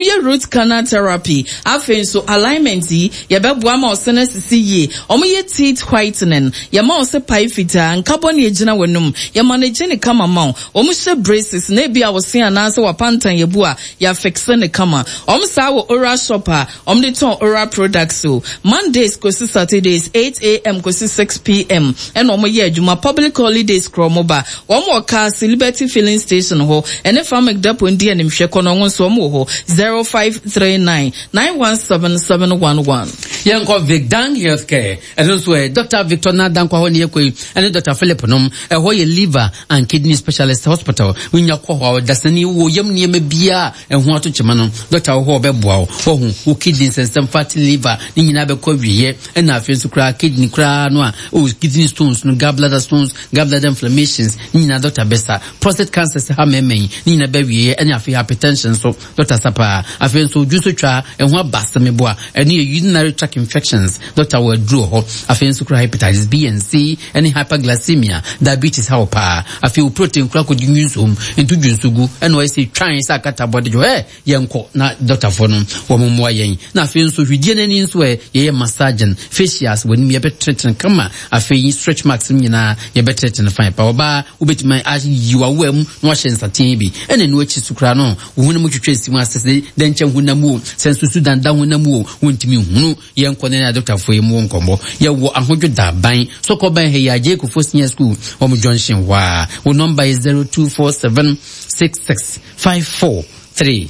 Yɛ root canal therapy, afei nso alignment yi, yɛbɛboa ma ɔse no asisi yie. Wɔyɛ teeth whitening, yɛma ɔse pae fitaa, nka bɔne agyina w'anum, yɛma no gye ne kama ma wo. Wɔhyɛ braces na ebia wo se anaasɛ w'apantan abu a, yɛafixe no kama. Wɔn saa wɔ oral shop a wɔde tɔn oral products o. Mondays kɔsi Saturdays, 8am kɔsi 6pm ɛna wɔyɛ adwuma, public holidays koraa wɔba. Wɔn wɔ Kaase Liberty Filling Station hɔ ɛne Farmec Depot ndi animhwɛ kɔ no wɔn nso wɔn wɔ hɔ 0539 917 711. Yɛnkɔ Vicdang Healthcare, ɛno nso ɛ, Dɔkta Victor Nadankwa hɔ ne yɛkɔ yi, ɛne Dɔkta Philip nom, ɛhɔ yɛ Liver and Kidney Specialist Hospital. Wonya kɔ hɔ a, ɔdasani wɔ yam nneɛma biara a ɛho ato kyema no, dɔkta wɔ hɔ a ɔbɛboa wo. Wahu, wo kidney nsɛnsɛm, fatty liver, ne nyinaa bɛkɔ awieɛ, ɛna afei nso koraa kidney koraa no a, oh, kidney stones no, gallbladder stones, gallbladder inflammations ne nyinaa dɔkta bɛsa. Prostate cancer sɛ ha mmarima yi ne nyinaa bɛwieɛ ɛne afei hypertension nso dɔkta sa paa. Afei nso dwonso twa ɛho aba asɛmeboa ɛne yɛ urinary tract infections dɔkta wɔ aduro wɔ hɔ. Afei nso kura hepatitis B and C ɛne hyperglycemia diabetes ha wɔ paa. Afei wo protein kura kɔdi nwinsom nto dwonso gu ɛna ɔyɛ sɛ twan sɛ akata bɔde dwo ɛ Yɛnkɔ na dɔktafoɔ no wɔn mmoa yɛn. Na afei nso hwidie no ani nso ɛ, yɛyɛ massaging, facials, w'anim yɛbɛtenetene kama. Afei stretch marks no nyinaa yɛbɛtenetene fine pa. Ɔbaa wobɛtumi ayi w'awowa mu na wahyɛ nsateaa bi. Ɛna ɛno akyi so koraa no, wo honam twitwa si mu ase sɛ dɛnkyɛm honam o, sɛ nsusu danda honam o, wontumi nhunu. Yɛnkɔ na yɛne adɔktafoɔ yi mmɔ nkɔmmɔ. Yɛwɔ Ahodwo Daban, Sɔkɔban ha yi a, Jay Kufuor Senior School, wɔn junction hɔ a. Wo nɔmba yɛ 0247 66 54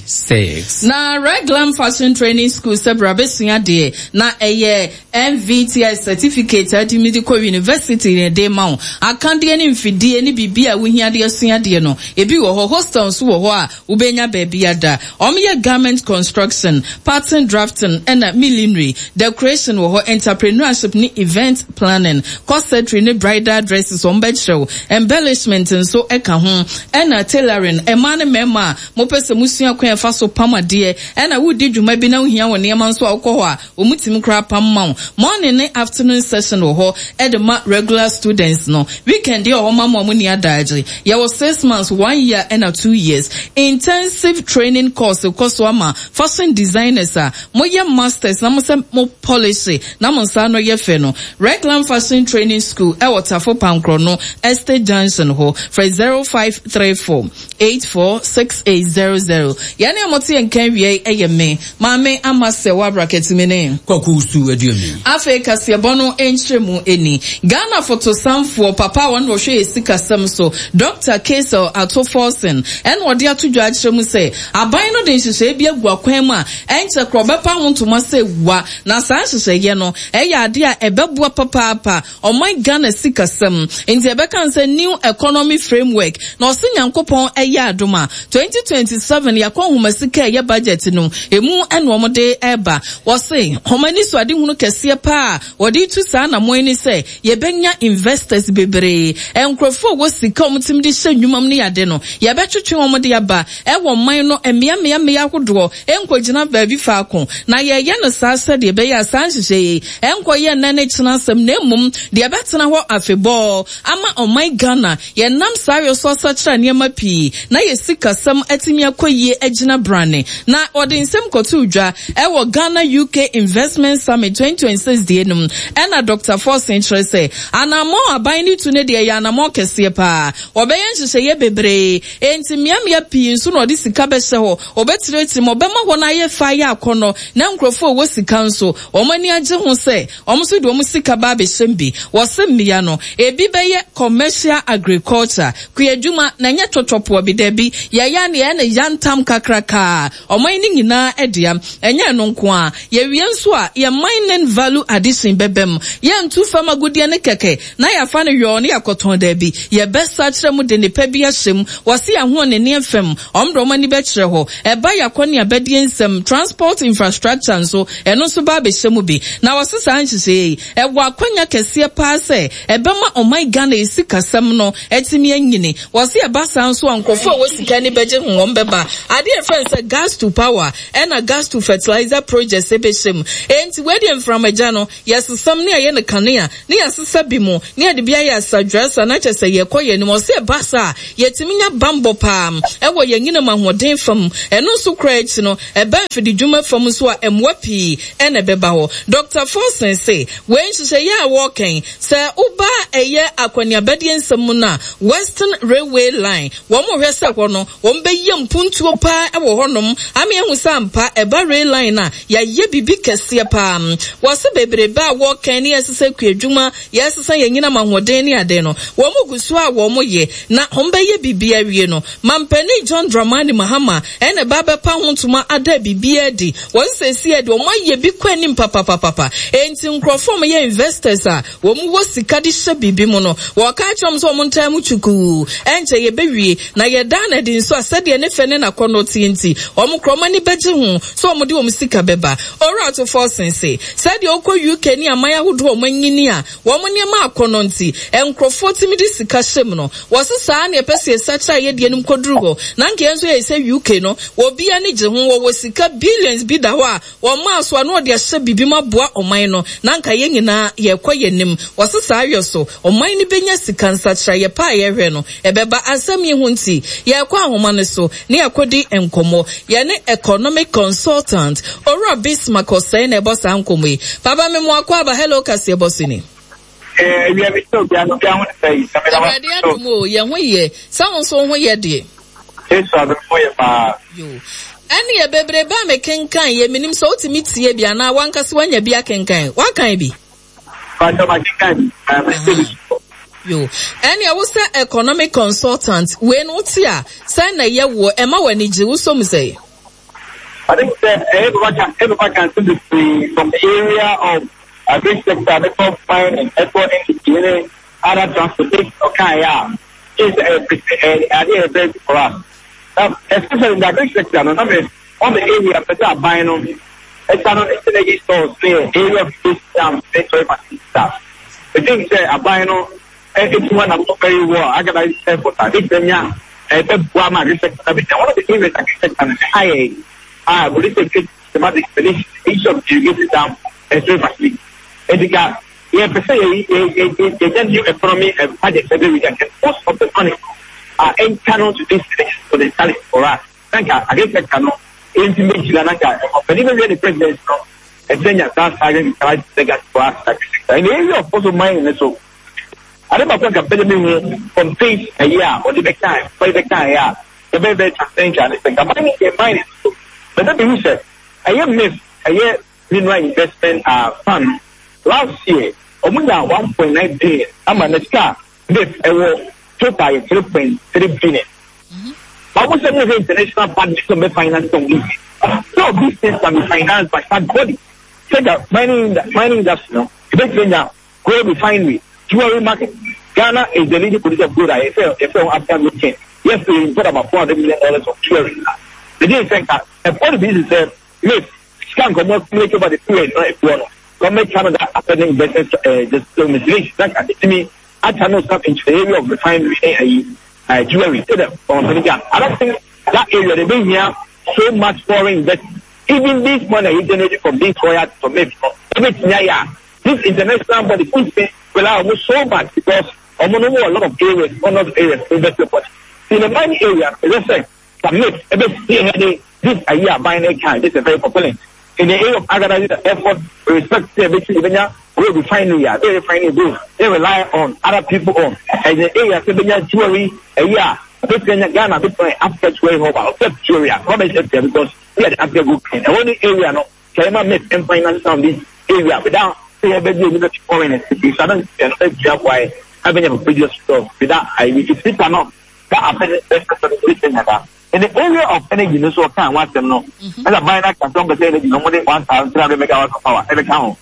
36. Na Reglam Fashion Training School sɛ bra bɛsua adeɛ na ɛyɛ NVTI certificate a wotumi de kɔ university na ɛde ma wo. Akadeɛ ne mfidie ne biribi a wohia de asua adeɛ no, ebi wɔ hɔ. Hostel nso wɔ hɔ a wobɛnya baabi ada. Wɔyɛ garment construction, pattern drafting ɛna millinery, decoration wɔ hɔ, entrepreneurship ne event planning, corsetry ne bridal dresses wɔbɛkyerɛ wo, embellishment nso ka ho, ɛna tailoring, mmaa ne mmarima a mopɛ sɛ mosua kwan a ɛfa so pam adeɛ, ɛna woredi dwuma bi na wohia wo nneɛma nso a wokɔ hɔ a wɔtumi koraa pam ma wo. Morning ne afternoon session wɔ hɔ de ma regular students no. Weekend deɛ wɔ hɔ ma mo a monni adaagye. Yɛwɔ six months, one year ɛna 2 years. Intensive training course kɔ so ama fashion designers a moyɛ masters na mosɛ mo polish na mo nsa ano yɛ fɛ no. Reglan Fashion Training School ɛwɔ Tafo Pankorɔ Estate Junction hɔ. Frɛ 0534 846800. Yɛne a mote yɛn nka awia yi ɛyɛ me, Maame Ama Sɛwa Brakɛtumi ne. Kwaku Su Aduomi. Afei kaseɛbɔ no nkyerɛmu ni. Ghana fotosanfoɔ papa a ɔno na ɔhwɛ yɛn sikasɛm so, Dɔkta Cassiel Ato Forson ɛna ɔde ato dwa akyerɛ mu sɛ aban no de nhyehyɛeɛ bi agu akwan mu a ɛnkyɛ koraa ɔbɛpa ho ntoma sɛ wua na saa nhyehyɛeɛ no ɛyɛ adeɛ a ɛbɛboa papaapa ɔman Ghana sikasɛm nti ɛbɛka no sɛ New Economy Framework na ɔse Nyankopɔn ɛyɛ adom a 2027 yɛakɔ nhoma sika a ɛyɛ budget no ɛmu ɛna wɔn de ɛba. Wɔse wɔn anisoadehunu kɛseɛ paa a wɔde retu saa anamɔn yi ne sɛ yɛbɛnya investors bebree, nkurɔfoɔ a wɔwɔ sika a wɔtumi de hyɛ nnwuma mu ne ade no, yɛbɛtwetwe wɔn de aba wɔ man no mmea mmea mmea ahodoɔ, ɛnkɔgyina baabi faako. Na yɛreyɛ no saa sɛdeɛ ɛbɛyɛ a saa nhyehyɛeɛ yi ɛnkɔyɛ nnɛ ne kyena asɛm na mmom deɛ ɛbɛtena hɔ afebɔɔ ama ɔman Ghana. Yɛnam saa yɔ so asakyera nneɛma pii na yɛn sikasɛm atumi akɔ yie agyina brane. Na wɔde nsɛm kɔtoo dwa wɔ Ghana UK Investment Summit 2026 deɛ no mu. Ɛna Dɔkta Forson kyerɛ sɛ anammɔn a aban no tu no deɛ ɛyɛ anammɔn kɛseɛ paa. Wɔbɛyɛ nhyehyɛeɛ bebree, enti mmeammea pii nso na wɔde sika bɛhyɛ hɔ. Wɔbɛtrɛtrɛ mu, wɔbɛma hɔ no ayɛ fɛ ayɛ akɔnnɔ na nkurɔfoɔ a wɔwɔ sika nso wɔn ani agye ho sɛ Wɔn nso de wɔn sika ba abɛhyɛm bi. Wɔse mmea no, ebi bɛyɛ commercial agriculture, kuadwuma, na ɛnyɛ twɔtwɔpoɔ bi, dabi, yɛyɛ a na yɛyɛ no yantam kakrakaa, ɔman no nyinaa dea. Ɛnyɛ ɛno nko ara, yɛwie nso a, yɛn mining value addition bɛba mu. Yɛntu fam agudeɛ no kɛkɛ na yɛafa no yɔɔ na yɛakɔtɔn, dabi, yɛbɛsakyera mu de nnepa bi ahyɛ mu. Wɔse yɛn ahoɔnenneɛ fam, wɔn de wɔn ani bɛkyerɛ hɔ. Ɛba yɛn akɔneabadie nsɛm, transport infrastructure nso, Ɛno nso ba abɛhyɛ mu bi. Na wɔse saa nhyehyɛeɛ yi, ɛwɔ akwanya kɛseɛ paa sɛ ɛbɛma ɔman Ghana yi sikasɛm no atumi anyini. Wɔse ɛba saa nso a nkorɔfoɔ a ɛwɔ sika ani bɛgye ho, wɔn bɛba. Adeɛ a yɛfrɛ no sɛ gas to power ɛna gas to fertilizer projects bɛhyɛ mu. Enti wei deɛ mframagya no, yɛsesam ne yɛayɛ no kanea, ne yɛasesa bi mu, ne yɛde bi ayɛ asadwerasa na kyerɛ sɛ yɛkɔ yɛn anim. Ɔse ɛba saa a, yɛtumi nya bammɔ paa wɔ yɛn anyinam ahoɔden fam. Ɛno nso koraa akyi no, ɛba mfididwuma fam nso a, mmoa pii na ɛbɛba hɔ. Dɔkta Forson se, wei nhyehyɛeɛ a wɔreka yi, sɛ woba ɛyɛ akɔneabadie nsɛm mu no a, Western Railway Line, wɔhwɛ sɛ hɔ no, wɔbɛyɛ mpuntuo paa wɔ hɔnom ama yɛahu sɛ ampa ɛba rail line a, yɛayɛ biribi kɛseɛ paa. Wɔse bebrebe a wɔreka ne yɛresesa kuadwuma, yɛresesa yɛn anyinam ahoɔden ne ade no, wɔn gu so a wɔyɛ na wɔbɛyɛ biribi awie no, Mampanin John Dramani Mahama na ɛba abɛpa ho ntoma ada biribiara adi. Wɔse seesei deɛ wɔayɛ bi kɔ anim papapapapa. Enti nkurɔfoɔ a wɔyɛ investors a wɔwɔ sika de hyɛ biribi mu no, wɔka akyerɛ wɔn sɛ wɔntaa mu kyukuu, ɛnkyɛ yɛbɛwie, na yɛdaa no adi nso a sɛdeɛ ne fɛ ne n'akɔnnɔ teɛ nti, wɔn koraa wɔn ani bɛgye ho sɛ wɔde wɔn sika bɛba. Owura Ato Forson se, sɛdeɛ wokɔ UK ne aman ahodoɔ a wɔanyini a wɔn nneɛma akɔnnɔ nti, nkurɔfoɔ tumi de sika hyɛ mu no, wɔse saa ara na yɛpɛ sɛ yɛsakyera yɛn deɛ no mu kɔduru hɔ, na anka yɛn nso yɛyɛ sɛ UK no, obiara ani gye ho, wɔwɔ sika billions bi da hɔ a Wɔmaa so a na wɔde ahyɛ biribi mu aboa ɔman no, na anka yɛn nyinaa yɛrekɔ yɛn anim. Wɔse saa yɔ so, ɔman no bɛnya sika nsakyeraeɛ pa a yɛhwɛ no, ɛbɛba. Asɛm yi ho nti, yɛrekɔ ahoma no so na yɛakɔdi nkɔmmɔ. Yɛne Economic Consultant, Owura Bismarck Osei na ɛbɔ saa nkɔmmɔ yi. Papa me mo akwaaba, hello kaseɛbɔ so ni. Eh, awia me sɛ obiara no obiara ho te sɛ yi. Na meda Awurade adom o, yɛn ho yɛ. Sɛ wo nso wo ho yɛ deɛ. Yesu adom ho yɛ paa. Yo. Ɛneɛ bebrebe a mekenkan yɛ menim sɛ wotumi tie bi anaa wankasa wanya bi akenkan. Wakan bi? Pakyɛ makenkan bi. Na mete bi so. Yo. Ɛneɛ wo sɛ economic consultant wei no wote a sɛn na ɛyɛ woɔ ɛma w'ani gye wosɔ mu sɛn? I think sɛ ɛyɛ papa ka ɛyɛ papa ka nsɛm bebree from the area of agric sector ne kɔ mining ɛkɔ industry ne other transportation ɔkaeɛ a kyerɛ sɛ ɛyɛ pese ɛyɛ adeɛ ɛyɛ very good for us na especially in the agric sector no na me on the area pɛ sɛ aban no ɛsa no ne synergy stores ne yɛ area of irrigation dams ne soil facilities a I think sɛ aban no ɛtu hɔ nam very well organized effort a ɛbɛtumi anya ɛbɛboa ma agric sector no abɛgyina. One of the areas agric sector no ɛha yɛ a police and systematic expedition issue of irrigation dam and soil facility. Enti ka yɛpɛ sɛ yɛnya new economy and budget every week and most of the money are channeled to this potentiality for us. Na nka agric sector no ɛnti bɛgyina na nka ɔpanin bɛwie ne president no ɛsɛ nya saa saa legacy for us agric sector. In the area of also mining so Ade baako a nka mepɛ dɛ mehu from faith ayi a ɔde bɛkae, papa yi bɛkaeɛ a ɛbɛyɛ very transcendental ne sɛ nka mining deɛ mining so mepɛ sɛ mehu sɛ ɛyɛ MIF ɛyɛ mineral investment uh, fund last year ɔmo nya 1.9 billion ama na sika a MIF ɛwɔ total yɛ 3.3 billion. Ɔmo sɛ mo hwɛ international partners sɛ ɔmo bɛ finance some these so these things can be financed by such body. Sɛ nka mining mining industry no ebetumi anya Gold refinery, jewelry market, Ghana is the leading producer of gold a yɛfrɛ yɛfrɛ ho African gold chain. Yes, we import about 400 million dollars of jewelry. Megye sɛ nka ɛkɔ no bi sɛ myth sika nka ɔmo accumulate over the period no ɛtoɔ no government channel that affecting investment eh, just so mislead na nka ɛtumi achannel some into the area of refinery ne ayi uh, jewelry sɛ dɛ ɔmo gya I don't think that area they been here so much foreign investment even this money you generate from this royalty from myth no ɛbɛtumi ayɛ a This international body ntumi rely ɔmo so much because ɔmo no wɔ a lot of areas, a lot of areas to invest your money. In the mining area, ɛsɛ sɛ submit ɛbɛ spearhead this ayi aban ne kan, this is very compelling. In the area of organizing the effort, we respect sɛ ɛbɛti ɛbɛnya gold refinery a, bɛ refinery gold, they rely on other people on. And the area sɛ bɛnya jewelry ayi a, ɛbɛtumi anya Ghana bɛtumi ayɛ Africa jewelry hub a, ɔsɛ jewelry a, kɔmɛ sɛ because we are the Africa gold king. Ɛwɔ ne area no, Sɛ yɛma myth mfa nyina sesa this area without sɛ yɛbɛgye ani bɛto foreigners bebree so adan sɛ no bɛgyina aboa yɛ na bɛnya previous results without ayi if we cannot that affect the best person to be that in the area of energy no so ɔka ho asɛm no ɛna ban na kasa ɔmpɛ sɛ energy no ɔmo de 1,300 megawatts of power ɛbɛka ho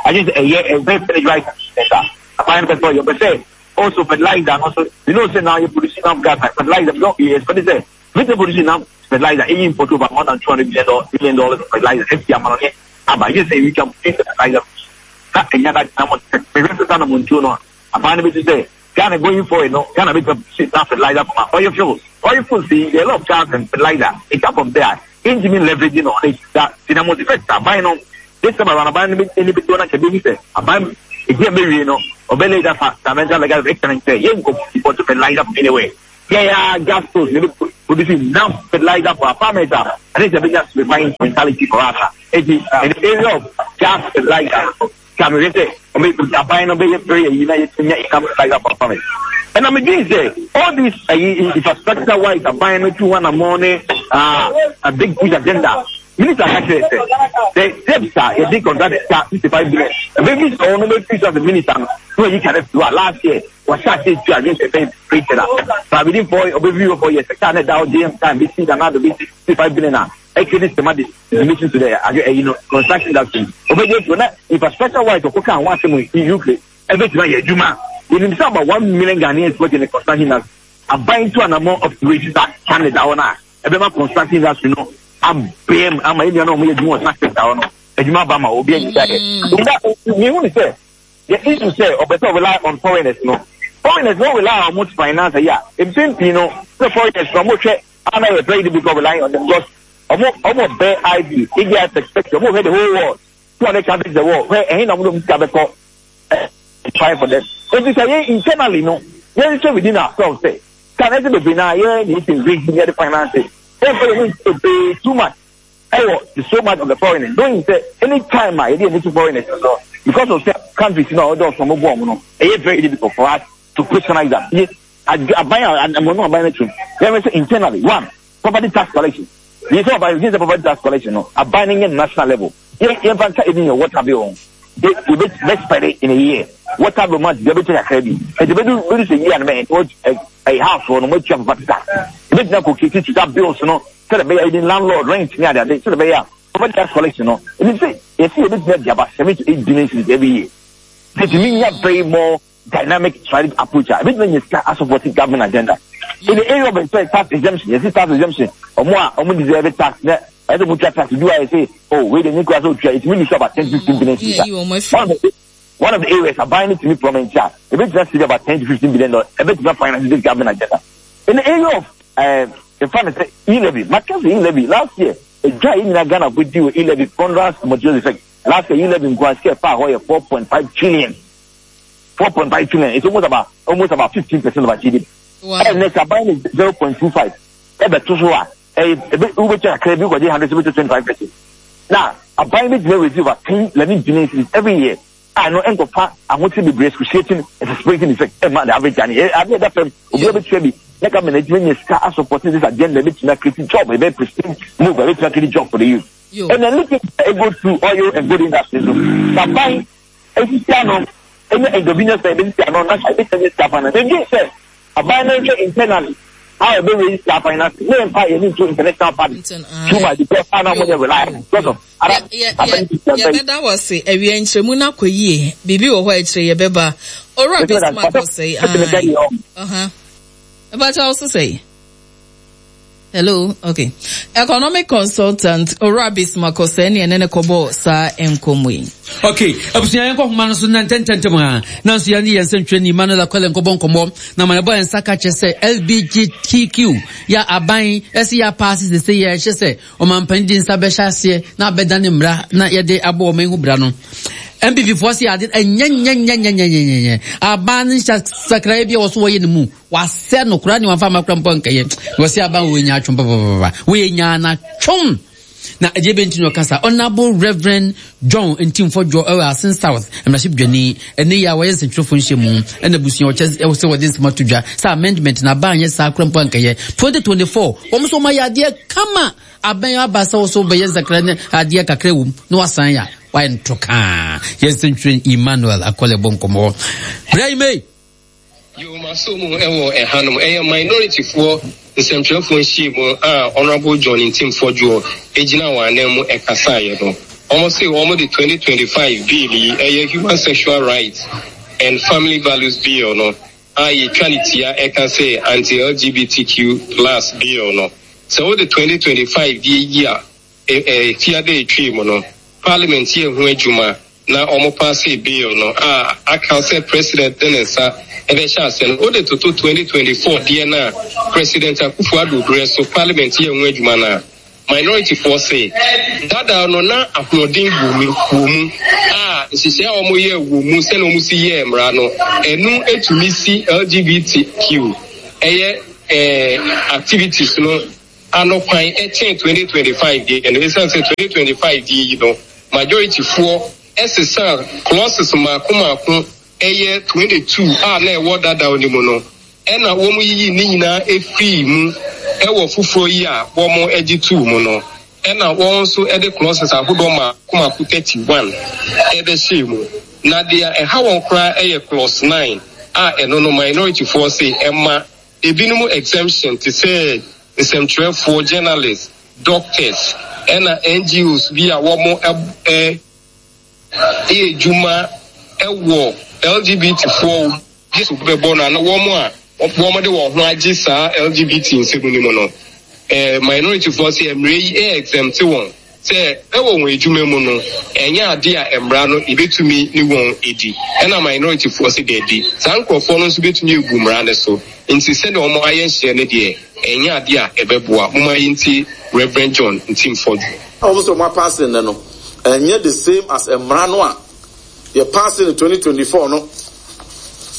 agye sɛ ɛyɛ ɛbɛ energy right center aban no pɛ sɛ ɔyɛ ɔpɛ sɛ also fertilizer no so you know say now you produce enough gas like fertilizer you don't you expect sɛ Britain produce enough fertilizer eyi import over more than 200 billion dollars of fertilizer efi amanɔne aba. Yɛ sɛ we can produce fertilizer na ɛnya da gyina mo mehwɛ sɛ saa na mo ntuo no a aban no bɛsi sɛ. Ghana going forward no, Ghana bɛtumi produce enough fertilizer from our oil fields. Oil fields yi, there are a lot of gas and fertilizer. It come from there. Yɛntumi leverage no on it. Da, nti na mo effect aban no, this time around aban no ani bɛdi wɔn akyɛ bɛhu sɛ aban ɛdi a bɛwie no, ɔbɛ lay that fundamental legal of excellence sɛ yɛnkɔ import fertilizer from anywhere. Yɛn a gas fields na ɛbɛ produce enough fertilizer for our farmers a, ɛne sɛ bɛnya refined mentality for us a. Enti, in the area of gas fertilizer, Ka mehwɛ sɛ ɔbɛ aban no bɛyɛ prayer yi na yɛtumi nya income fertilizer for farmers. Ɛna medwen sɛ all this ayi infrastructure wise aban no tu ho anammɔn ne ah, a big push agenda. Minister ka kyerɛ sɛ the steps a yɛde contract sika 65 billion. Ɛbɛbi sɛ ɔno bɛfiri so as a minister no na wayi ka no afiri hɔ a last year wɔhyɛ ase tu adwene sɛ ɛbɛyɛ created a but within four ɔbɛfiri hɔ 4 years sɛ na ɛda hɔ JM time bɛsi na nado bɛsi 65 billion a ɛkɛ ne sɛma de relation to the ade ɛyi no construction industry ɔbɛgye ato na infrastructure wise ɔkɔ kan ho asɛm yi UK ɛbɛtumi ayɛ adwuma yɛnim sɛ about 1 million Ghanaians work in the construction industry. Aban to anamɔ of register Canada hɔ no a ɛbɛma construction industry no abɛm ama yɛn nuanom a wɔyɛ adwuma wɔ saa sector hɔ no adwuma aba ma obi anyɛ ayɛ. Mehu ne sɛ the issue sɛ ɔpɛ sɛ rely on foreigners no, foreigners no rely on wɔn finance yi a mpɛn pii no sɛ foreigners no wɔhwɛ ana yɛ very difficult relying on them because ɔmo ɔmo bɛ id ebi a perspective ɔmo hwɛ the whole world, 200 countries the world hwɛ ɛhin na ɔmo de ɔmo sika bɛkɔ try for them. Nti sɛ yɛn internally no yɛn hwɛ within ourselves sɛ kan ɛsɛ bebree na yɛ na yɛ raise yɛ de finance yɛn fɛ yɛn ni bebree too much ɛwɔ so much of the foreigners, knowing sɛ any time a yɛde yɛn ni to foreigners no because of sɛ countries no a ɔdɔ ɔsɔn mo bɔ ɔmo no, ɛyɛ very difficult for us to personalize that. Yɛ aban a ɛmɔ no aban no tum yɛn sɛ internally, one, property tax collection yɛ sɛ ɔban yɛ sɛ property tax collection no aban no nyɛ national level. Yɛ yɛn fa nka ebi yɛ water bill ho, yɛ yɛ bɛ bɛ spend it in a year water bill month yɛ bɛ kyɛ kakra bi ɛdi bɛ du bɛ du sɛ yie anam ɛ ɛ ɛ house wɔ no mo atua property tax ebi gyina kɔ kesi to that bills no sɛdeɛ bɛyɛ ebi landlord rent ne ade ade sɛdeɛ bɛyɛ a property tax collection no ebi sɛ yɛsi yɛ bɛ gyina di aba 7 to 8 billion cedis every year. Tètè mi nya very more dynamic strategic approach a ebitumi anya sika asupport government agenda in the area of sɛ tax exemption. Yɛsi tax exemption, ɔmo a ɔmo deserve tax na ɛsɛ ɔmo tua tax du a yɛsɛ oh wei de nye kura sɛ otua etumi lose about 10 15 billion cedis. One of the areas aban ne tumi promise a ebitumi save about $10 to 15 billion, ebitumi finance this government agenda in the area of nfa ne sɛ e-levy. Maka sɛ e-levy last year edwa yi nyinaa Ghana ko di wɔ e-levy ponderance materials effect. Last year e-levy nko a sika ɛfa hɔ yɛ 4.5 trillion, 4.5 trillion. It's almost about 15% of our GDP. Ɛnɛ sɛ aban ne 0.25 ɛbɛto so a ɛyɛ ebe wobɛtwa kakra bi kɔgye 100 sɛ 25% na aban bi gyina raise over 10 11 billion cedis every year a no nkɔfa ahokyere bebree, excruciating exasperating effect ɛma the average Ghanaian. Ade ɛda fam obiara bɛtua bi na government adwuma nya sika asupport this agenda, ebɛtumi acreate job, ɛbɛ pristine move, ɛbɛtumi acreate job for the youth. And then look at go through oil and gold industry so saban esisi ano ɛnyɛ endogenous sɛ ebesisi ano na ebɛtumi anya sika finance. Ebi sɛ aban no nhwɛ internally how ebe raise sika finance ne nfa yɛn into international party too much because how na mo yɛ reliable because of other Yɛbɛda wɔ se awia nkyerɛmu no akɔ yie. Biribi wɔ hɔ a akyire yɛbɛba. Owura Bismarck Osei, ɛbɛkyɛ wo so sɛi. Hello, okay. Economic consultant Owura Bismarck Osei ne ɛne ne kɔbɔɔ saa nkɔmmɔ yi. Okay, abusua, yɛnkɔ homa no so na ntɛntɛntɛm a nanso yɛne yɛn nsɛntwerɛni Emmanuel Akwele nkɔbɔ nkɔmmɔ na ma yɛbɔ yɛn nsa ka kyerɛ sɛ LBGTQ yɛ aban ɛsɛ yɛ apaase sese yɛhyɛ sɛ ɔmampanin de nsa bɛhyɛ aseɛ na abɛda ne mmara na yɛde abɔ ɔman ho bra no. NPP foɔ se ade ɛnyɛnyɛnyɛnyɛnyɛnyɛ aban no nhyɛ sakraeɛ bi a wɔ so wɔyɛ ne mu wasɛ no koraa ne wamfa ama koraa mpo nkɛyɛ na wɔse aban wɔ nya atwom papapapa wɔyɛ nya na twom na ɛdeɛ bɛnti na ɔkasa. Honorable Reverend John Ntimfo Dwo ɛwɔ Asen South mmarahyɛbadwani ɛne yɛ a wɔyɛ nsɛntwerɛfoɔ nhyɛ mu ɛna abusua ɔkyɛ ɛwɔ sɛ wɔde nsɛm ato dwa sɛ amendment na aban nyɛ saa koraa mpo ankɛyɛ. 2024 wɔn nso wɔn ayɛ adeɛ kama abɛn aba sɛ wɔso bɛyɛ nsakra ne adeɛ kakra wɔ mu na wasan yɛ a wayɛ nto kaa. Yɛn nsɛntwerɛ Emmanuel Akɔlɛ bɔ nkɔmmɔ berɛ yi mei. Yo, maso mu wɔ ɛhanom. Ɛyɛ minority foɔ nsɛmtwerɛfoɔ nhyiamu a Honourable John Ntim Fordjour gyina wɔn anan mu ɛkasaeɛ no. Wɔn se wɔn de 2025 bill yi, ɛyɛ Human Sexual Rights and Family Values Bill no a yɛtwa no tia ɛka sɛ Anti-LGBTQ plus Bill no. Sɛ wode 2025 deɛ yi a, ɛ, ɛ, fiada a ɛtwaa mu no, Parliament yɛɛ ho adwuma. na wɔpaasee bill no a aka sɛ President de ne nsa bɛhyɛ aseɛ no, wode toto 2024 deɛ no a President Akufo Addo berɛ so Parliament yɛɛ ho adwuma no a, Minority foɔ se dada no na ahoɔden wɔ mu wɔ mu a nhyehyɛɛ a wɔyɛɛ wɔ mu sɛnea wɔsi yɛɛ mmara no ɛno tumi si LGBTQ ɛyɛ eh, activities no ano kwan kyɛn 2025 deɛ no ɛsiane sɛ 2025 deɛ yi no majority foɔ ɛsesa clauses mmaako mmaako ɛyɛ 22 a na ɛwɔ dadaw no mu no ɛna wɔyiyii ne nyinaa firii mu wɔ foforɔ yi a wɔgye too mu no, ɛna wɔn nso de clauses ahodoɔ mmaako mmaako 31 bɛhyɛɛ mu. Na deɛ ɛha wɔn koraa yɛ clause 9 a ɛno no minority foɔ se ɛma ebinom exemption te sɛ nsɛmtwerɛfoɔ, journalists, doctors, ɛna NGOs bi a wɔn yɛ adwuma wɔ LGBT foɔ Yesu bɛbɔ no anaa wɔn a wɔde wɔn ho agye saa LGBT nsɛm no mu no, eh, minority foɔ sɛ mmerɛ yi ɛ exempt wɔn sɛ ɛwɔ wɔn adwuma mu no, ɛnyɛ ade a mmara no yɛbɛtumi ne wɔn adi. Ɛna minority foɔ sɛ daabi, saa nkorɔfoɔ no nso bɛtumi agu mmara no so. Nti sɛdeɛ wɔn ayɛ nhyehyɛɛ no deɛ, ɛnyɛ ade a ɛbɛboa. Momma yɛntie Rev. John Ntim Fordjour. Wɔn sɛ wɔn apaase nnɛ no, ɛnyɛ the same as mmara no a Yɛ paase no 2024 no,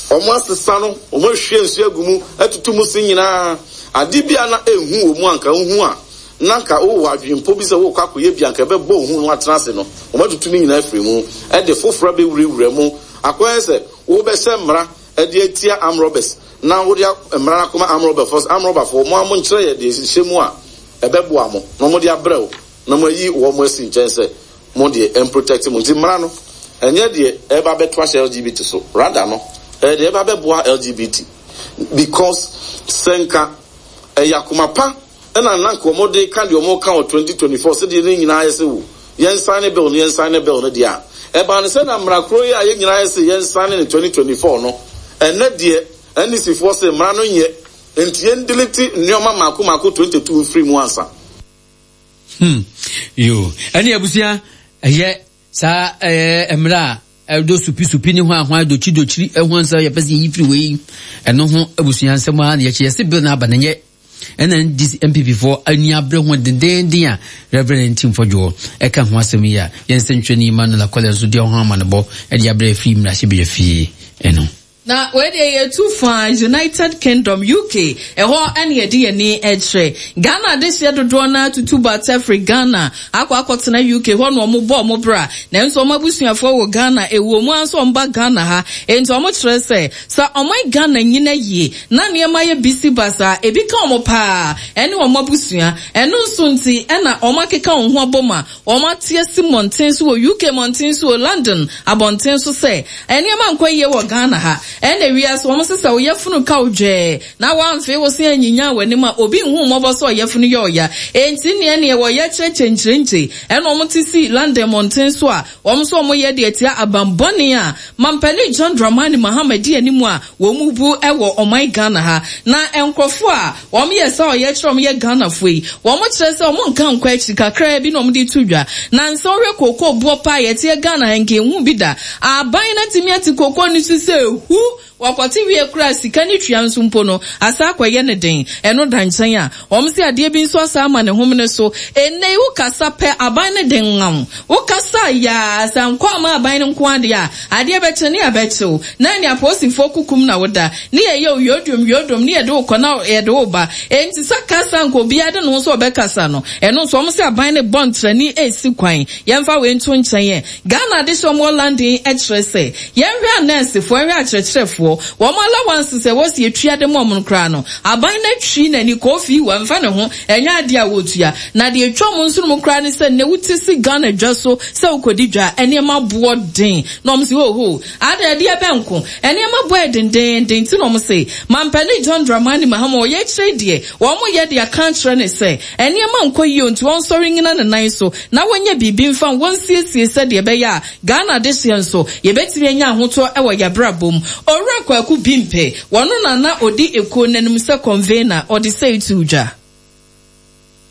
wɔn asesa no, wɔn ahwie nsuo agu mu, atutu mu se nyinaa. Ade bi a na enhu wɔ mu a anka wohu a, na anka wowɔ adwempɔ bi sɛ worekɔ akɔyɛ bi a anka ɛbɛbɔ wo hu na woatena ase no, wɔn atutu ne nyinaa afiri mu, de foforɔ abɛwurawura mu. Akɔyɛ sɛ wobɛhyɛ mmara de atia armed robbers na wode mmara no akɔma armed robberfoɔ sɛ, armed robberfoɔ, mo ara monkyerɛ yɛ deɛ ɛhyɛ mu a ɛbɛboa mo, na wɔde abrɛ wo, na moayi wɔn asi nkyɛn sɛ mo deɛ ɛmprotect mo. Nti mmara no, ɛnyɛ deɛ ɛreba abɛto ahyɛ LGBT so, rather no, ɛyɛ deɛ ɛreba abɛboa LGBT. Because sɛ nka ɛyɛ akoma pa ɛna na nka wɔn de ka deɛ wɔn ka wɔ 2024 sɛdeɛ ne nyinaa yɛ sɛ wo yɛn sign bill no yɛn sign bill no deɛ a, ɛbaa no sɛ na mmara koro yi a yɛn nyinaa yɛ sɛ yɛn sign no 2024 no, ɛnɛ deɛ NDC foɔ sɛ mmara no nyɛ, nti yɛn delete nneɛma mmaako mmaako 22 mfiri mu ansa. Hmm. Yo. Ɛne abusua ɛyɛ saa ɛyɛ mmerɛ a ɛdɔ supisupi ne hwan hwan dokyiri dokyiri ɛho nsɛm yɛpɛ sɛ yɛyi firi wei ɛno ho abusua nsɛm a na yɛkyɛ yɛse bill no aba no nyɛ ɛna NDC MPP foɔ ani abere ho dendeenden a Reverend Ntim Fɔdwoɔ ɛka ho asɛm yi a yɛn nsɛntwerɛni Emmanuel Akɔlɛ nso deɛ ɔho amanebɔ ɛde abrɛ afiri mmarahyɛbadwa fie ɛno. Na wei deɛ yɛtu faa United Kingdom, UK, ɛhɔ ne yɛde yɛn ani kyerɛ. Ghana adehyeɛ dodoɔ no ara tutu bata firi Ghana akɔ akɔtena UK hɔ na wɔbɔ wɔn bra. Nanso wɔn abusuafoɔ wɔ Ghana, ɛwɔ mu ara nso wɔba Ghana ha. Enti wɔkyerɛ sɛ, sɛ ɔman Ghana nyina yie na nneɛma yɛ bisi basaa a, ebi ka wɔn pa ara ne wɔn abusua. Ɛno nso nti na wɔakeka wɔn ho abom a Wɔate asi mmɔnten so wɔ UK mmɔnten so o, London abɔnten so sɛ nneɛma nkɔ yie wɔ Ghana ha. Ɛna wiase wɔn se sɛ wo yafunu ka wo dwɛɛ na woamfee wo se anyinyan w'anim a obi nhu wo mmɔbɔ sɛ ɔyafunu yɛ ɔya. Enti nneɛ neɛ wɔyɛ kyerɛkyerɛ nkyirenkyi ɛna wɔn te si London mmɔnten so a wɔn nso wɔn yɛ de atia aban bɔne a Mampanin John Dramani Mahama di anim a wɔn bu wɔ ɔman Ghana ha. Na nkorɔfoɔ a wɔn yɛ saa ɔyɛkyerɛ a wɔn yɛ Ghanafoɔ yi, wɔn kyerɛ sɛ wɔn nka nkɔ akyiri kakraa bi na wɔn de to dwa. Nansa wohwɛ kookoo boɔ paa a yɛteɛ Ghana ha nka yɛnhuu bi da. Aban no atumi ate kookoo no so sɛ hu! Wɔkɔte wie koraa a sika no tua nso mpo no asan akɔyɛ no den. Ɛno da nkyɛn a, wɔn se adeɛ bi nso asan ama ne homene so. Ɛnnɛ yi wokasa pɛ aban no de nwaw. Wokasa yaa, sɛ ankɔ amma aban no nko ara deɛ a, adeɛ bɛkye ne yɛabɛkye wo. Na ɛne apolisifoɔ kukum na woda, ne yɛyɛ wo yodwom yodwom, ne yɛde wo kɔ na yɛde wo ba. Enti sɛ kasa anka obiara de ne ho sɛ ɔbɛkasa no, ɛno nso wɔn sɛ aban no rebɔ ntrani resi kwan. Yɛmfa wei nto nkyɛn ɛ. Ghana adehyeɛ a wɔwɔ London yi kyerɛ sɛ, yɛnhwɛ anɛɛsefoɔ, yɛnhwɛ akyerɛkyerɛfoɔ, wɔn allowances a ɛwɔ sɛ yɛtua de ma wɔn no koraa no, aban no atwi n'ani, Kofi, wamfa ne ho. Ɛnyɛ adeɛ a wɔtua. Na deɛ ɛtwa wɔn nsono mu koraa ne sɛ nnɛ wote si Ghana dwa so sɛ wokɔdi dwa a, nneɛma boɔ den. Na wɔn se hoho, adɛn ɛdeɛ bɛn nko? Nneɛma boɔ yɛ dendeenden nti na wɔn se Mampanin John Dramani Mahama ɔyɛ akyire deɛ wɔn yɛ de aka akyerɛ no sɛ nneɛma nkɔ yie nti ɔnsɔre nnyina ne nan so na wɔnyɛ biribi mfa wɔnsiesie sɛdeɛ ɛbɛyɛ a Ghana adehyeɛ nso yɛbɛtumi anya ahotɔ wɔ yɛabrabɔ mu. Owura Kwaku Bimpe, Wɔno na na ɔdi ekuo no anim sɛ convener, ɔde sei too dwa.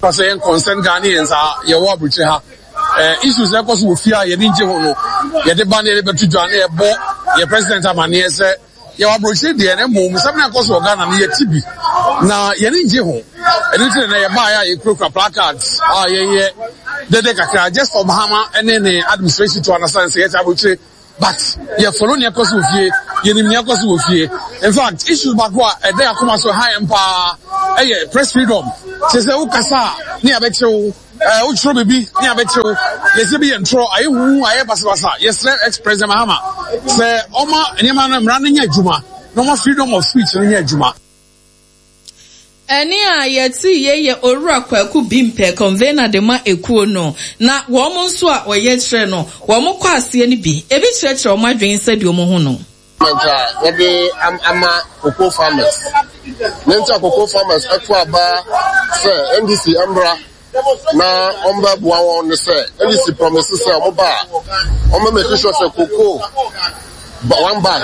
Fa sɛ yɛn concerned Ghanaians a yɛwɔ aburokyire ha. eh, issues ɛkɔ so wɔ fie a yɛde ngye ho no, yɛde ba na yɛde bɛto dwa na yɛbɔ yɛ president amaneɛ sɛ yɛwɔ aburokyire deɛ na mmom nsɛm na ɛkɔ so wɔ Ghana no yɛte bi na yɛne ngye ho. Ɛno nti na na yɛbaeɛ a yɛkurakura placards a yɛyɛ dede kakra just for Mahama ne ne administration to understand sɛ yɛte aburokyire. But yɛ follow nea ɛkɔ so wɔ fie, yɛnim nea ɛkɔ so wɔ fie. In fact, issue baako a ɛda yɛn akoma so ɛha yɛn paa ɛyɛ press freedom. Kyerɛ sɛ wokasa a ne yɛabɛkyere wo, ɛɛ wotwerɛ biribi ne yɛabɛkyere wo. Yɛsɛ bi yɛ ntorɔ, ayɛ huhu, ayɛ basabasa. Yɛsrɛ ex-President Mahama sɛ ɔma nneɛma no mmara no nyɛ adwuma na ɔma freedom of speech no nyɛ adwuma. Ɛnne a yɛtee yei yɛ Owura Kwaku Bimpɛ, Convener de ma ekuo no, na wɔn nso a wɔyɛ kyerɛ no, wɔn kɔ aseɛ no bi, ebi kyerɛkyerɛ wɔn adwene sɛdeɛ wɔn hu no. Government a wɔde ama cocoa farmers. Nea nti a cocoa farmers to aba sɛ NDC mmra na wɔbɛboa wɔn ne sɛ NDC promise sɛ wɔba a wɔbɛ make sure sɛ cocoa one bag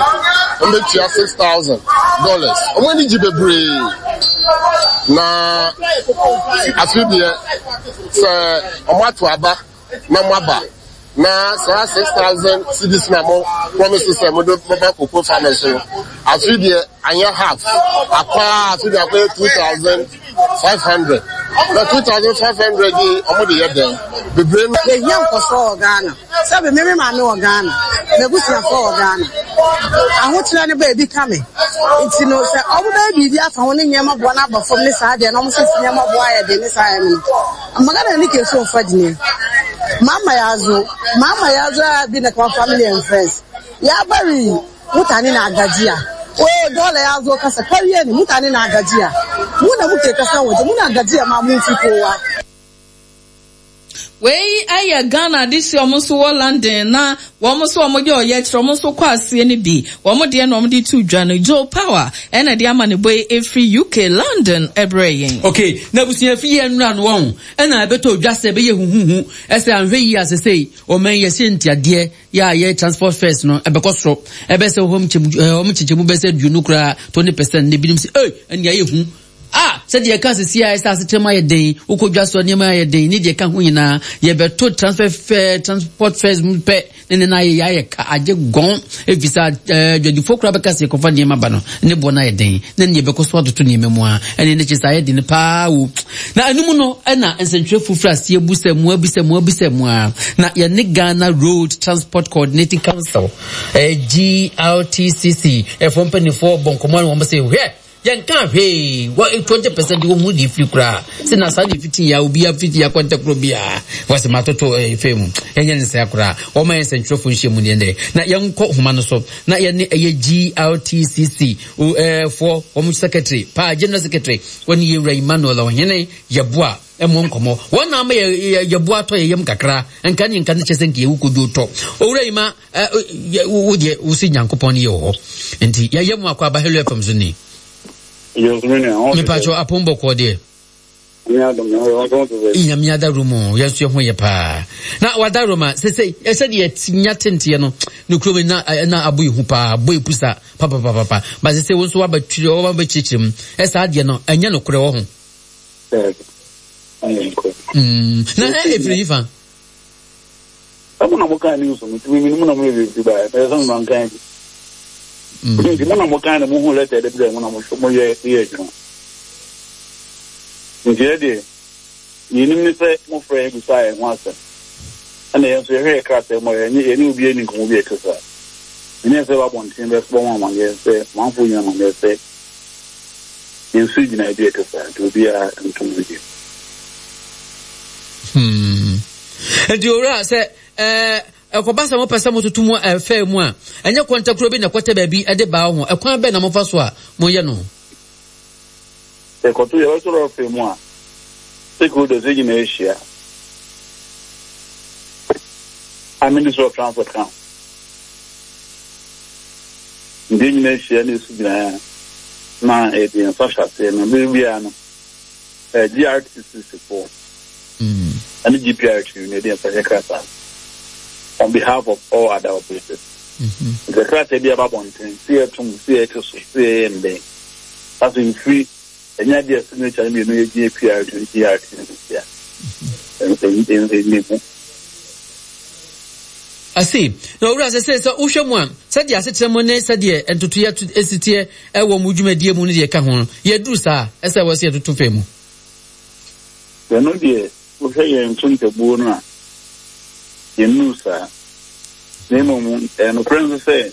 wɔbɛtua $6,000. Wɔn ani gye bebree na afe deɛ sɛ wɔato aba na moaba na saa 6,000 cedis na mo promise sɛ mode bɛba cocoa farmers no, afe deɛ anyɛ half akɔ a afe deɛ akɔyɛ 2,500 na 2,500 yi ɔmo de yɛ dɛn bebree no. Yɛhia nkɔsoɔ wɔ Ghana. Sɛbe me me maame wɔ Ghana, m'abusuafoɔ wɔ Ghana. Ahokyerɛ no ba ebi ka me. Nti no sɛ ɔmo bɛyɛ biribi afa ho ne nneɛma boɔ no aba fam ne saa deɛ na ɔmo sɛ nneɛma boɔ ayɛ den ne saa ayɛ no no, Magana nake so in faɗi ne. Mama ya zo, Mama ya zo ya bi na kamar family and friends. Ya bari mutane na gajiya. Oh, dole ya zo kasa karya ne mutane na gajiya. Mu da muke kasan waje muna gajiya ma mun fi kowa. Wei yɛ Ghana adehyeɛ wɔn nso wɔ London na wɔn nso wɔn yɛ ɔyɛkyerɛ wɔn nso kɔ aseɛ no bi wɔn deɛ na wɔn de to dwa no Joe Power ɛna de ama ne bɔ yi efiri UK London ɛbrɛ yɛn. Okay, na abusua fi yɛ nnura no wɔn ɛna ɛbɛtɔ dwa sɛ ɛbɛyɛ huhuhu ɛsɛ anhwɛ yie asesei ɔman yɛhyɛ ntiadeɛ yɛ a yɛ transport fares no ɛbɛkɔ soro ɛbɛsɛ wɔn kyekyɛmu bɛsɛ 20 koraa 20% na ebinom sɛ ɛy ɛnea ɛyɛ hu. A Sɛdeɛ yɛka seesei ara sɛ asetra mu ayɛ den, wokɔ dwa so a nneɛma ayɛ den, ne deɛ ɛka ho nyinaa, yɛbɛto transfer fare, transport fares mu pɛ ne ne no ayɛ yɛayɛ ka agye gɔn, ɛfiri sɛ eh, dwadifoɔ koraa bɛka sɛ yɛkɔfa nneɛma ba no, ne boɔ no ayɛ den, na ne yɛbɛkɔ so atoto nneɛma mu a, ɛne ne kyɛ sɛ ayɛ den paa o. Na ɛno mu no, ɛna nsɛntwerɛfoɔ firi aseɛ bu sɛ mua bi sɛ mua bi sɛ mua, na yɛne Ghana Road Transport Coordinating Council, eh, GRTCC, ɛfoɔ mpanimfoɔ bɔ nkɔmmɔ ne wɔn sɛ hwɛ, Yɛnkaa hwee wɔ 20% wɔ mu de firi koraa sɛ na saa de fiti ya obi afiti ya kɔntɛkoro biara wɔsɛ matoto fɛ mu ɛnyɛ ne sɛ koraa wɔma yɛn sɛntwerɛfo nhyia mu deɛ na yɛnkɔ homa no so na yɛne ɛyɛ GRTCC foɔ wɔn secretary paa general secretary wɔne yɛwura Emmanuel Ɔhene Yɛboa ɛmmɔ nkɔmmɔ wɔn na ama yɛboa atɔ yɛ yam kakra nka ne nka ne kyɛ sɛ nka yɛwu kodwo tɔ owura yi ma wo deɛ wo si nyankopɔn no yɛ wɔ hɔ nti yɛyɛ mu akɔ aba hello fm so ni mepatwɛ apom bɔkɔɔ deɛ nyame adaworo mu yɛn nso yɛ ho yɛ paa na wadaworo ma sese sɛdeɛ nya tenteɛ no ne kurom na na abo ehu paa abo epu sa papapapa ba sese wo nso wabɛtwiri wabɛkyerɛkyerɛ mu ɛsaa deɛ no ɛnyɛ nokorɛ wɔ ho na ɛfiri yifa Sɛ mo na mo kan news no, nti me mo na mo yɛ biribi baeɛ, mɛyɛ sɛ mo mankan bi. Nti mo na mo kan na mo hu lɛtɛ de brɛ mo na mo mo yɛ yɛ adwuma. Nti yɛ deɛ, yɛnim ne sɛ mo frɛ yɛ bisa yɛn ho asɛm. Ɛna yɛn nso yɛhwɛ yɛ krataa mu a yɛne yɛne obi ani nkɔmmɔ bi a ɛte saa. Ɛnyɛ sɛ ɛba abɔnten bɛbɔ mo amaneɛ sɛ amanfoɔ nyina amaneɛ sɛ yɛnsi gyinaeɛ bi a ɛte saa nti obiara ntom no bio. Hmm. Nti owura sɛ ɛɛ ɛkɔba sɛ mopɛ sɛ mototo mu ɛfɛ mu a ɛnyɛ kɔntakuro bi na ɛkɔtɛ baabi ɛde baa ho ɛkwan bɛn na mofa so a moyɛ no. Yɛkɔto yɛbɛto rɔfe mu a stakeholders yɛ nyinaa ahyia a Ministry of Transport ka ho nti yɛn nyinaa ahyia na ɛsi gyinaeɛ a na yɛde yɛn nsa hyɛ aseɛ na bere biara no GRTCC foɔ ɛne GPRT na yɛde yɛn nsa hyɛ krataa on behalf of all other operators. Nti krataa bi aba abɔnten sɛ yɛtom sɛ yɛte so sɛ yɛyɛ ndɛn asɛ mfiri ɛnyɛ adeɛ a signature no mmienu yɛ GPRT ne GRTCC a ɛnni ho. I see. Na owura sɛ sɛ sɛ wohwɛ mu a, sɛdeɛ asekyerɛ mu ne sɛdeɛ ntotoeɛ to esi teɛ ɛwɔ mo dwumadie mu ne deɛ ɛka ho no, yɛduru saa a, ɛsɛ wɔ sɛ yɛtoto fɛ mu. Ɛno deɛ, wohwɛ yɛn nkontabuo no a, yɛnnuu saa. Na mmom, ɛyɛ nokorɛ nso sɛ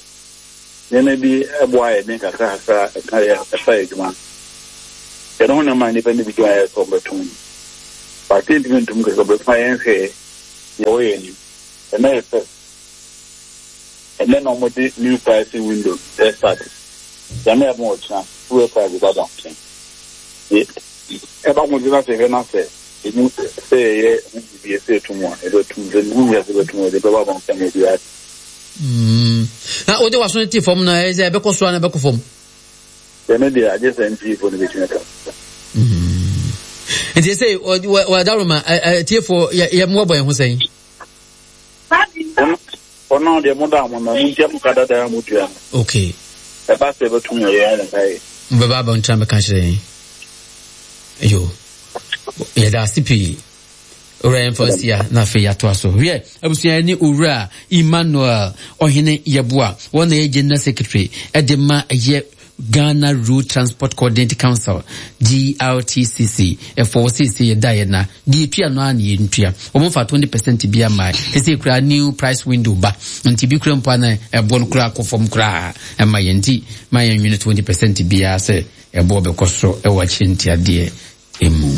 nneɛma bi boa ayɛ den kakrakakra a ɛka yɛ ɛfa yɛ adwuma no. Yɛn ho nneɛma a nnipa no bi dwen ayɛ sɛ wɔbɛtom no. But yɛntumi ntom kɛkɛ, wɔbɛtumi ayɛ nhwɛɛ deɛ ɛwɔ yɛn anim. Ɛnnɛ yɛ first. Ɛnnɛ na wɔde new pricing window restart. Nyame adom a ɔkyena fuel price bɛba abɔnten. Ɛba abɔnten na sɛ yɛhwɛ na sɛ emu sɛ yɛyɛ ho biribi sɛ yɛto mu a, yɛbɛto mu. Sɛ mehu hia sɛ yɛbɛto mu a, yɛde bɛba abɔnten ama obiara ate. Mm. Na wode w'aso no te fam na ɛyɛ sɛ ɛbɛkɔ so a na ɛbɛkɔ fam. Ɛno deɛ agye sɛ MPfoɔ no bɛtumi aka. Mm. Nti sɛ wɔadaworoma atiefoɔ yɛmmoabɔ yɛn ho sɛn? Ɔno deɛ mo da mo na mo ntia mo ka dada a mo tua no. Okay. Ɛba sɛ ɛbɛtum yɛ yɛn wɔn kae. Mbɛba abɔnten abɛka kyerɛ yɛn. Yo. Yɛda ase pii. Owura yɛmfa nsi a na afei yɛatoa so. Wiɛ, abusua ne Owura Emmanuel Ɔhene Yeboah, wɔn na ɛyɛ General Secretary ɛde ma ɛyɛ Ghana Road Transport Coordinating Council, GRTCC, ɛfɔ wɔ seesei yɛda yɛ na deɛ yɛtua no ara na yɛntua. Wɔn mfa 20% bi ama seesei koraa new price window ba nti bi koraa mpo a na ɛboɔ no koraa kɔ fam koraa ɛma yɛn nti ma yɛnwene 20% biara sɛ ɛboɔ bɛkɔ soro ɛwɔ akyire ntiadeɛ mu.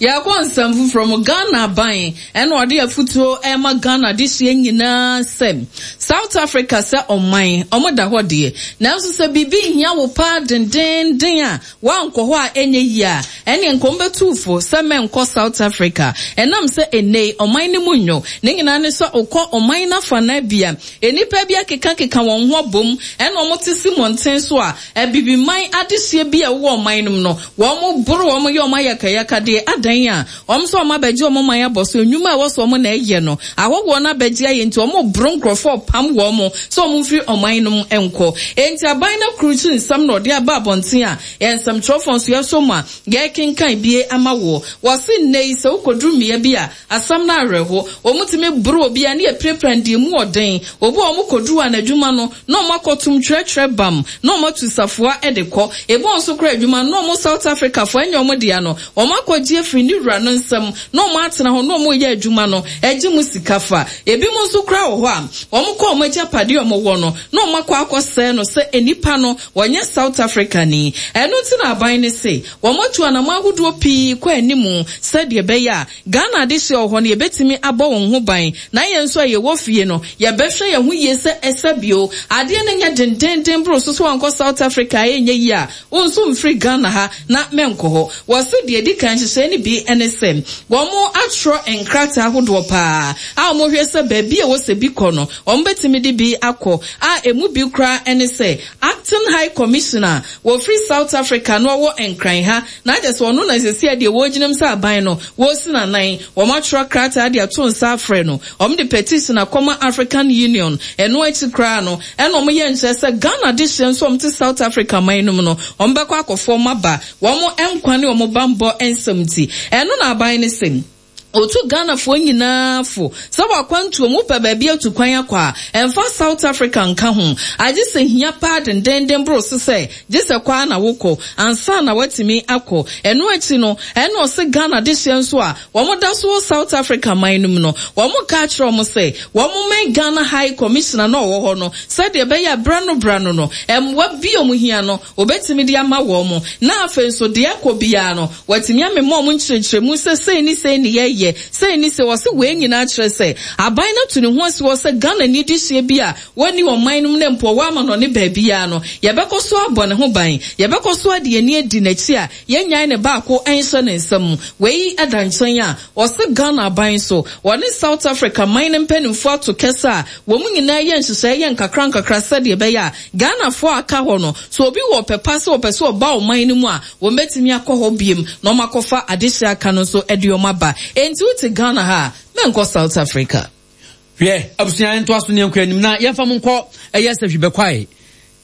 Yɛkɔ nsɛm foforɔ mu, Ghana aban ɛna ɔde afutuo ɛrema Ghana adehyeɛ nyinaa sɛ South Africa sɛ ɔman ɔmo da hɔ deɛ nanso sɛ biribi hia wo paa dendeenden a woankɔ hɔ a ɛnyɛ yie a ɛneɛ nka ɔmo bɛtu wo fo sɛ mɛnkɔ South Africa ɛnam sɛ ɛnnɛ yi ɔman no mu nnwo ne nyinaa ne sɛ wokɔ ɔman no afanaa bi a nnipa bi akekakeka wɔn ho abom ɛna ɔmo te si mmɔnten so a Abibiman adehyeɛ bi a ɛwowɔ ɔman no mu no, wɔn boro wɔn yɛ wɔn ayakayakadeɛ, adan a wɔn nso wɔn abɛgye wɔn man abɔ so, nnwuma a ɛwɔ sɛ wɔn na ɛyɛ no, ahɔhoɔ no abɛgye ayɛ nti wɔn boro nkorɔfoɔ repam wɔn sɛ wɔn mfiri ɔman no mu nkɔ. Enti aban no akurukyi nsɛm na ɔde aba abɔnten a yɛn nsɛmtwerɛfoɔ nso yɛsɔ mu a yɛrekenkan bie ama woɔ. Wɔse nnɛ yi sɛ wokɔduru mmea bi a Asɛm no awerɛho. Wɔtumi boro obi a ne yɛ pirapira no deɛ emu wɔ den. Obi a wɔkɔduru a n'adwuma no na wɔakɔtom twerɛtwerɛ bam na wɔatu safoa de kɔ. Ebi wɔ nso koraa adwuma no na wɔn South Africafoɔ ɛnyɛ wɔn dea no wɔakɔgye afiri ne wura no nsam na wɔatena hɔ na wɔreyɛ adwuma no gye mu sika fa. Ebinom nso koraa wɔ hɔ a wɔkɔ wɔn agyapadeɛ a wɔwɔ no na wɔakɔ akɔsɛe no sɛ nnipa no wɔnyɛ South Africani. Ɛno nti na aban no se wɔatu anamɔn ahodoɔ pii kɔ anim sɛdeɛ ɛbɛyɛ a Ghana adehyeɛ wɔ hɔ no yɛbɛtumi abɔ wɔn ho ban na yɛn nso a yɛwɔ fie no yɛbɛhwɛ yɛn ho yie sɛ ɛsa bio. Adeɛ no nyɛ dendeenden boro so sɛ wankɔ South Africa a ɛnyɛ yie a wo nso mfiri Ghana ha na mɛnkɔ hɔ. Wɔse deɛ ɛdi kan nhyehyɛeɛ no bi ne sɛ wɔn atwerɛ nkrataa ahodoɔ paa a wɔhwɛ sɛ baabi a ɛwɔ sɛ bi kɔ no wɔbɛtumi de bi akɔ a ɛmu bi koraa ne sɛ Acting High Commissioner a wɔfiri South Africa na ɔwɔ Nkran ha Na kyerɛ sɛ ɔno na seesei deɛ wɔgyina mu sɛ aban no, wɔresi no anan. Wɔatwerɛ krataa de ato nsa afrɛ no. Wɔde petition akɔma African Union. Ɛno akyi koraa no, ɛna wɔyɛ nkyerɛ sɛ Ghana adehyeɛ nso a wɔte South Africa man no mu no, wɔbɛkɔ akɔfa wɔn aba, wɔn nkwa ne wɔn bammɔ nsɛm nti. Ɛno na aban no se. Otu Ghanafoɔ nyinaa fo sɛ w'akwantuo mu wopɛ baabi atu kwan akɔ a, ɛmfa South Africa nka ho. Agye sɛ hia paa dendenden boro so sɛ gye sɛ kɔ ara na wokɔ ansa na woatumi akɔ. Ɛno akyi no, ɛna ɔse Ghana dehyeɛ nso a wɔn da so wɔ South Africa man no mu no, wɔn ka akyerɛ wɔn sɛ wɔn mmɛn Ghana High Commissioner no a ɔwɔ hɔ no sɛdeɛ ɛbɛyɛ a berɛ ano berɛ ano no, mmoa bi a wɔn hia no Wɔbɛtumi de ama wɔn, na afei nso deɛ ɛkɔ biara no, wɔatumi amema wɔn nkyerɛkyerɛmu sɛ sei ne sei ne yɛyɛ, sei ne sei. Wɔse wei nyinaa kyerɛ sɛ aban no atu ne ho asi hɔ sɛ Ghanani dehyeɛ bi a wɔnni ɔman no mu na mpo ɔwɔ amanɔne baabiara no, yɛbɛkɔ so abɔ ne ho ban, yɛbɛkɔ so ade yɛn ani adi n'akyi a yɛnnyae ne baako nhyɛ ne nsa mu. Wei da nkyɛn a, wɔse Ghana aban nso, wɔne South Africa man no mpanimfoɔ ato kɛsɛ a wɔn nyinaa yɛ nhyehyɛeɛ yɛ nkakrankakra sɛdeɛ ɛbɛyɛ a Ghanafoɔ a aka hɔ no, sɛ obi wɔ ɔpɛ pa sɛ ɔpɛ sɛ ɔba ɔman no mu a, wɔbɛtumi akɔ hɔ biom na wɔakɔfa adehyeɛ aka no nso de wɔn aba. Enti wote Ghana ha a, mɛnkɔ South Africa. Hwɛ, abusua yɛntoa so ne yɛnkɔ anim na yɛmfa mo nkɔ ɛyɛ sahwi bɛkwae.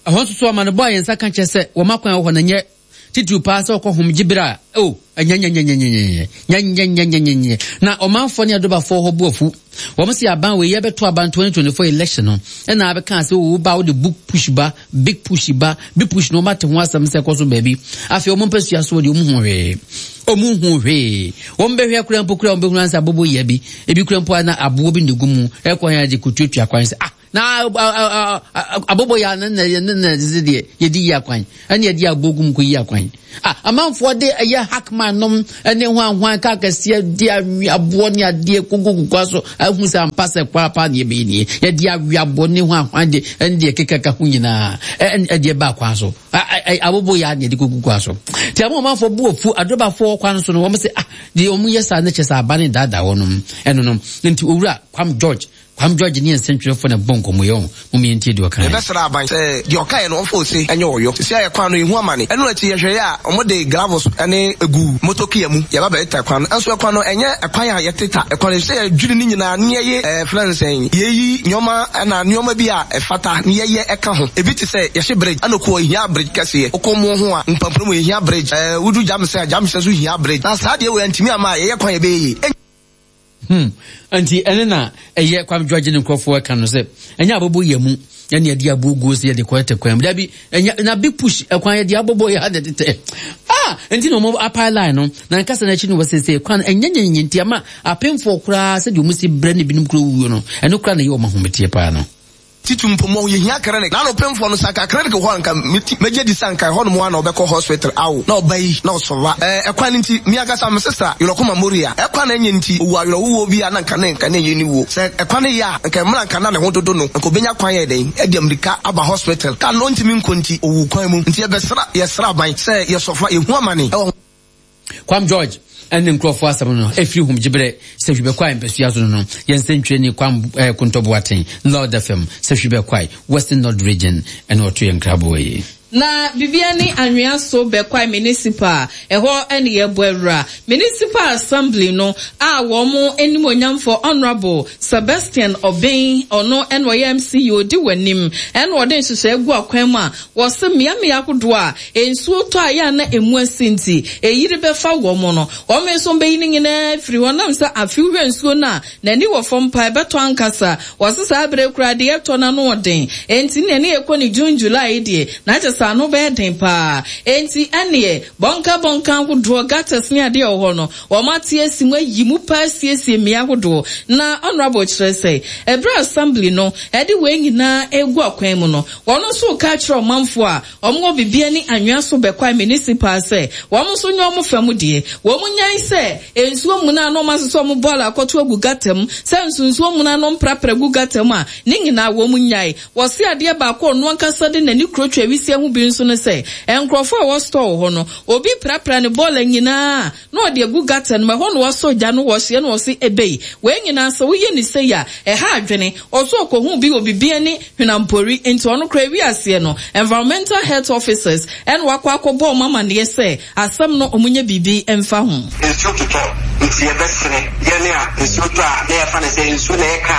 Ɛhɔ nso so amanebɔ a yɛn nsa ka kyerɛ sɛ wɔn akwan wɔ hɔ no nyɛ. Titiriw paa sɛ ɔkɔ hom gye bere a, oh, ɛnyɛnyɛnyɛnyɛnyɛnyɛ, nyɛnyɛnyɛnyɛnyɛ. Na ɔmanfoɔ ne adobafoɔ hɔ bo afu. Wɔn se aban wei yɛbɛto aban 2024 election no, ɛna abɛka sɛ wo ba wode book push ba, big push ba, big push no wɔn ate ho asɛm sɛ ɛkɔ so baabi. Afei wɔn mpɛ sua so wɔde wɔn hu hwee. Wɔn hu hwee. Wɔn bɛhwɛ kura mpo kura wɔn bɛhunu ansa abobo yɛ bi. Ebi kura mpo na aboɔ bi na egu mu. Ɛkɔ yɛn de kutuatua kwan sɛ ah na abobo yɛ ne na ne na ɛsɛ deɛ yɛde yi akwan ɛne yɛde aboɔ gu mu kɔ yi akwan ah amanfoɔ de ɛyɛ hackman nom ɛne hwanhwan kaa kɛseɛ de awi aboɔ ne adeɛ kogo kukua so ahu sɛ ampa sɛ kwan pa ne yɛbɛyɛ nie yɛde awi aboɔ ne hwanhwan de ɛne deɛ kekaka ho nyinaa ɛdeɛ ba kwan so abobo yɛ ne yɛde kogu kwan so nti ama ɔmanfoɔ bu afu adrobafoɔ kwan so no wɔn sɛ ah deɛ wɔn yɛ saa ne kyɛ sɛ aba ne daadaa wɔn ɛno no nti owura Kwam George Kwam George ne yɛn nsɛntwerɛfoɔ na ɛbɔ nkɔmmɔ yi ɔho. Mom yɛntie deɛ ɔkaeɛ. Yɛbɛsrɛ aban sɛ deɛ ɔkaeɛ no ɔmfa ose nyɛ ɔyɔ. Seesei a yɛ kwan no yɛhu amane. Ɛno akyi yɛhwɛeɛ a wɔde gravels ne guu motor kia mu yɛba bɛteta kwan no. Nso ɛkwan no ɛnyɛ ɛkwan a yɛteta ɛkwan no ɛfisɛ yɛdwiri ne nyinaa ne yɛye ɛfrɛ no sɛn yɛyi nnoɔma ɛna nnoɔma bi a ɛfata ne yɛyɛ ɛka ho. Ebi te sɛ yɛhye bridge ɛna ɔkɔ ɛhia bridge kɛseɛ. Wokɔ moɔ ho a mpampuro mu ɛhia bridge ɛɛ wodu Gyamsɛ a Gyamsɛ nso hia bridge. Na saa deɛ wei antumi amma a yɛyɛ kwan a ɛbɛyɛ yie. Hmm. Nti ɛne na ɛyɛ Kwame George ne nkurɔfoɔ ɛka no sɛ ɛnyɛ abɔbɔ yɛ mu ɛne yɛde aboɔ guo sɛ yɛde kɔ ɛtɛ kwan mu dabi ɛnyɛ na big push ɛkwan yɛde abɔbɔ yɛ ha na ɛtetɛ ah nti na wɔn apae line no na nkasa n'akyi no wɔ sese kwan ɛnyɛ nyɛ nti ama apemfoɔ koraa sɛdeɛ wɔn si brɛ ne binom kuro wuo no ɛno koraa na ɛyɛ wɔn ahometeɛ paa no. Titiriw mpo mɔ yehia clinic. Na anɔpemfoɔ no sɛ anka clinic wɔ hɔ a anka meti mɛgye adi sɛ anka ɛhɔ nom ara na ɔbɛkɔ hospital awo na ɔba yi na ɔsɔva. Ɛɛ ɛkwan no nti me ankasa me sister Yerɔkoma Moria ɛkwan na ɛnyɛ nti owu awerɛhowɔ bi a na anka ne nka ne ɛnyɛ ne wuo. Sɛ ɛkwan no yɛ a anka mmerɛ anka na ne ho dodo no anka ɔbɛnya kwan ayɛ dɛn adi amirika aba hospital. Car no ɔntumi nkɔ nti ɔwuu kwan mu. Nti yɛbɛsra yɛsrɛ aban sɛ yɛsɔfa yɛhu amane ɛwɔ. Kwam George ne nkurɔfoɔ asɛm no ɛfiri hom gyeberɛ sɛ hwibɛkwae mpasua so no no yɛn nsɛntwerɛni Kwam eh, Kontɔ Boateng Lord FM sɛ hwibɛkwae Western North Region ɛna ɔto yɛn nkraboɔ yi. Na bibia ne anwea so bɛkwae municipal ɛhɔ ne yɛbɔ awura municipal assembly no a wɔn animuonyamfoɔ honourable Sebastian Obeng ɔno ɛna ɔyɛ MC yi ɔdi w'anim ɛna ɔde nhyehyɛɛ gu akwan mu a Wɔse mmeammea ahodoɔ a nsuo tɔ a ɛyɛ a na ɛmu asi nti ɛyiri bɛfa wɔn no, wɔn nso bɛyi ne nyinaa afiri hɔ nam sɛ afe wohwɛ nsuo no a n'ani wɔ fam paa ɛbɛtɔ ankasa. Wɔse saa berɛ yi koraa deɛ ɛtɔ no ano ɔden enti neɛ ne yɛkɔ ne June July yi deɛ na kyerɛ sɛ ano bɛyɛ den paa enti ɛneɛ bɔnka bɔnka ahodoɔ, gutters ne adeɛ ɛwɔ hɔ no wɔn ate asi mu ayi mu paa asiesie mmea ahodoɔ. Na Honourable kyerɛ sɛ ɛberɛ a Assembly no ɛde wei nyinaa ɛregu akwan mu no Wɔn nso reka akyerɛ ɔmanfoɔ a wɔwɔ Bibia ne Anwea so Bɛkwae Municipal sɛ wɔn nso nyɛ wɔn fa mu deɛ. Wɔn nyae sɛ nsuo muna a na wɔn asesa wɔn bɔɔla akɔto agu gata mu, sɛ nso nsuo muna no mprapra gu gata mu a, ne nyinaa wɔn nyae. Wɔse adeɛ baako a ɔno ankasa de n'ani kurotwa awisiaa ho bi nso ne sɛ, nkorɔfoɔ a ɛwɔ store wɔ hɔ no, obi prapra ne bɔɔla nyinaa a, na ɔde agu gutter no mu, ɛhɔ na wasɔ gya no wɔhyeɛ na ɔse ebei, wei nyinaa sɛ woyɛ no sei a, ɛha adwene. Ɔse ɔkɔhuu bi wɔ Bibiani Hwenampori nti ɔno koraa ewi aseɛ no, Environmental Health Officers ɛna wakɔ akɔbɔ wɔn amaneɛ sɛ asɛm no wɔn nyɛ biribi mfa ho. Nsuo totɔ nti yɛbɛsrɛ yɛn a nsuo tɔ a na yɛfa no sɛ nsuo na ɛyɛ kaa.